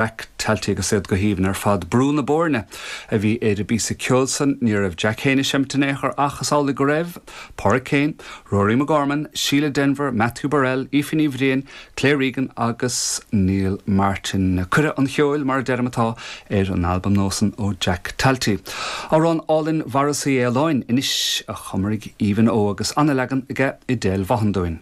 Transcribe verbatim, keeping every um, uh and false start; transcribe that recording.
Jack Talty agus iad go haoibhinn ar fad Brú na Boirne a bhí ar an bpíosa ceoil san ní raibh Jack féin ag seinm in aon chor ach is amhlaidh go raibh, Pádraig Kane, Rory McGorman, Sheila Denver, Matthew Burrell, Aoife Ní Bhriain, Claire Regan agus Neil Martin. Cuireadh an cheoil mar a deirim atá ar an albam nua san ó Jack Talty. Amhrán álainn Mharas Uí Fhaoláin anois a chum Aoibhinn Ó agus an-leagan aige Edel Vaughan dúinn.